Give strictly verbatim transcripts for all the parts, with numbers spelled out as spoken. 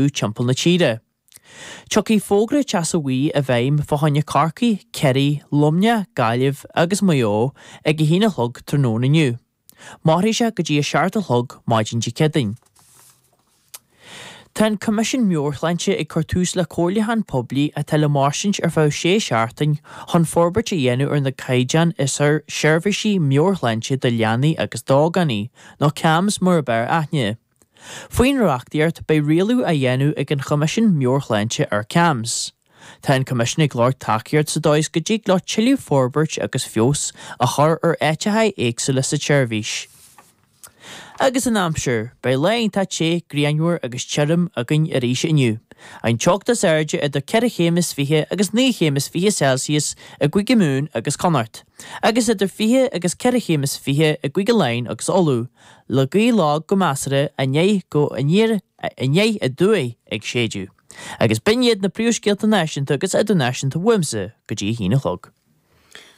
timpeall na tíre. Tiocfaidh fógra teasa bhuí i bhfeidhm fá choinne Corcaigh, Ciarraí, Luimneach, Gaillimh agus Maigh Eo ag a haon a chlog tráthnóna inniu. Mairfidh sé go dtí a seacht a chlog maidin Dé Céadaoin. Tá an Coimisiún Meabhairshláinte ag cur tús le comhairliúchán poiblí atá le mairstint ar feadh sé seachtain chun forbairt a dhéanamh ar na caighdeáin is ar seirbhísí meabhairshláinte do leanaí agus d'ógánaigh, nó CAMHS mar ab fhearr aithne. Faoin reachtaíocht beidh rialú á dhéanamh ag an Choimisiún Meabhairshláinte ar CAMHS. Tá an Coimisiún ag lorg tacaíocht sa dóigh is go dtig leo tuilleadh forbairt agus feabhas a chur ar áiteacha éagsúla sa tseirbhís. Agus an aimsir, beidh lá iontach te, grianmhar agus tirim againn arís inniu. An teocht is airde idir ceithre chéim is fiche agus naoi chéim is fiche Celsius i gCúige Mumhan agus Connacht, agus idir fiche agus ceithre chéim is fiche i gCúige Laighean agus Uladh, le gaoth lag go measartha aniar go aniar aniar aduaidh ag séideadh. Agus b'in iad na príomhscéalta náisiúnta agus idirnáisiúnta uaimse go dtí a haon a chlog.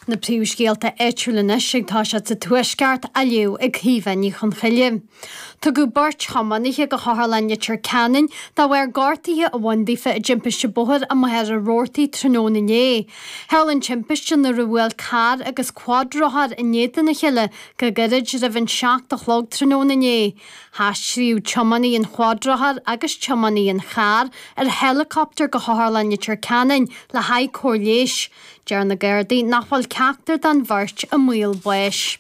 Na príomhscéalta áitiúla anois ag toiseacht sa Tuaisceart á léamh ag Caoimhe Ní Chonchoille. Tugadh beirt thiománaithe go hOtharlann Leitir Ceanainn de bharr gortuithe a bhain daofa i dtimpiste bóthair i Machaire Rabhartaigh tráthnóna inné. Tharla an timpiste nuair a bhuail carr agus cuadrothar in éadan a chéile go gairid roimh an seacht a chlog tráthnóna inné. Haistríodh tiománaí an chuadrothair agus tiománaí an chairr ar heileacoptar go hOtharlann Leitir Ceanainn le haghaidh cóir leighis. Deir na Gardaí nach bhfuil ceachtar den bheirt i mbaol báis.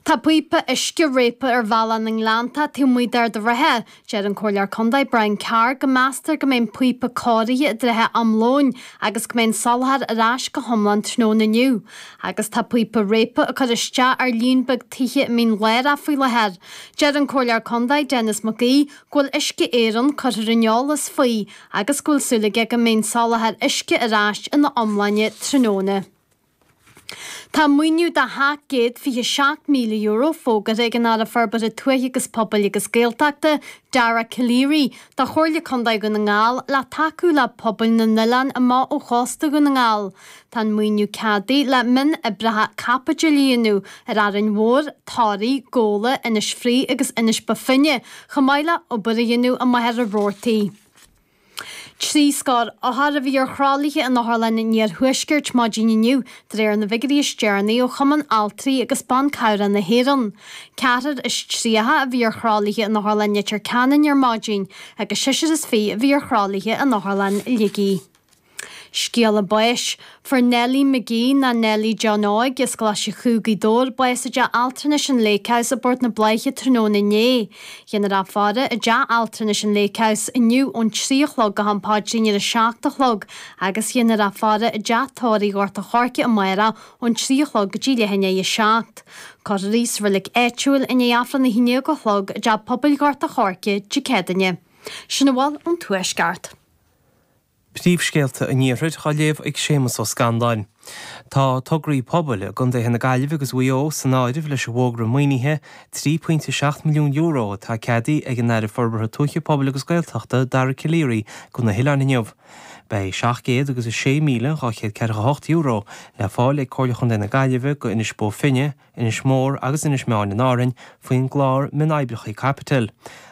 Tá píopa uisce réabtha ar Bhealach na nGleannta taobh amuigh d'Ard an Rátha. Deir an Comhairleoir Contae Brian Carr go meastar go mbeidh an píopa cóirithe i dtrátha am lóin agus go mbeidh an soláthar ar ais go hiomlán tráthnóna inniu. Agus tá píopa réabtha ag cur isteach ar líon beag tithe i Mín Lárach faoi láthair. Deir an Comhairleoir Contae Denis McGee go bhfuil Uisce Éireann curtha ar an eolas faoi agus go bhfuil súil aige go mbeidh an soláthar uisce ar ais ina iomláine tráthnóna. Tá maoiniú de sheacht gcéad fiche seacht míle euro fógartha ag an Aire Forbartha Tuaithe agus Pobail agus Gaeltachta, Dara Calleary, do Chomhairle Contae Dhún na nGall le tacú le pobail na n-oileán amach ó chósta Dhún na nGall. Tá an maoiniú ceadaithe le mionoibreacha caipitil a dhéanamh ar Árainn Mhór, Toraigh, Gabhla, Inis Fraoich agus Inis Bó Finne, chomh maith le obair a dhéanamh i Machaire Rabhartaigh. Trí scór othar a bhí ar thralaithe in Otharlann an Iarthuaiscirt maidin inniu, de réir na bhfigiúirí is deireanaí ó Chumann Altraí agus Ban Cabhrach na hÉireann. Ceathrar is tríocha a bhí ar thralaithe in Otharlann Leitir Ceanainn ar maidin, agus seisear is fiche a bhí ar thralaithe in Otharlann Shligigh. Scéala báis. Fuair Nellie McGee ná Nellie John Óig as Coláiste Chú Gaoth Dobhair bás i dteach altranais an Lake House i bPort na Bláiche tráthnóna inné. Dhéanfar í a fhaire i dteach altranais an Lake House inniu ón trí a chlog go ham paidrín ar a seacht a chlog agus dhéanfar í a fhaire i dteach tórraimh Ghort a' Choirce amárach ón trí a chlog go dtí leath i ndiaidh a seacht. Cuirfear í sa reilig áitiúil i ndiaidh Aifreann a haon déag a chlog i dteach pobail Ghort a' Choirce Dé Céadaoine. Sin a bhfuil ón Tuaisceart. Príomhscéalta an Iarthair á léamh ag Séamus Ó Scanláin. Tá tograí pobail i gcontaetha na Gaillimhe agus Mhaigh Eo san áireamh leis an bhfógra maoinithe trí pointe seacht milliún euro atá ceadaithe ag an Aire Forbartha Tuaithe Pobail agus Gaeltachta Dara Calleary do na hoileáin inniu. Beidh seacht gcéad agus a sé míle dhá chéad ceathracha hocht euro le fáil ag Comhairle Chontae na Gaillimhe go Inis Bó Finne, Inis Mór agus Inis Meáin in Árainn faoin gclár mionoibreacha caipitil.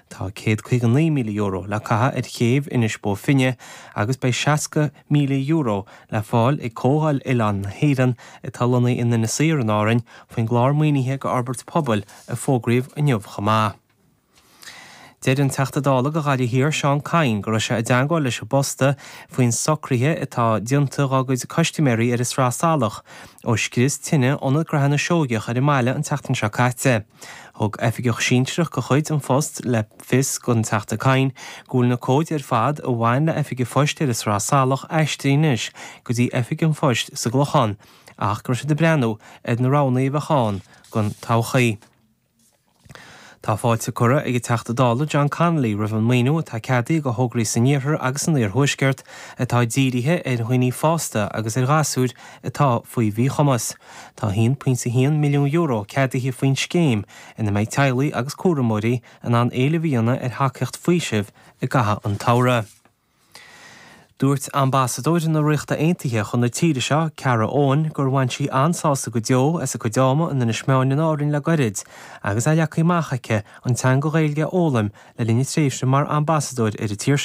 Tá céad caoga naoi míle euro le caitheamh ar chéibh Inis Bó Finne agus beidh seasca míle euro le fáil ag Comhdháil Oileán na hÉireann atá lonnaithe in Inis Oírr in Árainn faoin gclár maoinithe go fhorbairt pobail a fógraíodh inniu chomh maith. Deir an Teachta Dála do Ghaillimh Thiar Seán Kyne go raibh sé i dteagmháil leis an bPost faoin socruithe atá déanta dá gcuid custaiméirí ar an Sraith Salach ó scrios tine ionad gnaithe na Seoigeach ar an mbaile an tseachtain seo caite. Thug oifigeach sinsearach de chuid An Phost le fios don Teachta Kyne go bhfuil na comhaid ar fad a bhain le oifig an phoist ar an Sraith Salach aistrithe anois go dtí oifig an phoist sa gClochán ach go raibh siad ag breathnú ar na roghanna a bheadh ann don todhchaí. Tá fáilte curtha ag an Teachta Dála John Connolly roimh an maoiniú atá ceadaithe do thograí san iarthar agus san iarthuaisceart atá dírithe ar dhaoine fásta agus ar ghasúir atá faoi mhíchumas. Tá haon pointe haon milliún euro ceadaithe faoin scéim ina mbeidh teaghlaigh agus cúramóirí in ann éileamh a dhéanamh ar thacaíocht faoisimh i gcaitheamh an tsamhraidh. Dúirt Ambasadóir na Ríochta Aontaithe chun na tíre seo, Cara Owen, gur bhain sí an-sásamh go deo as a cuid ama in Inis Meáin in Árainn le gairid, agus é leagtha amach aici an teanga Ghaeilge a fhoghlaim le linn a tréimhse mar ambasadóir ar an tír seo.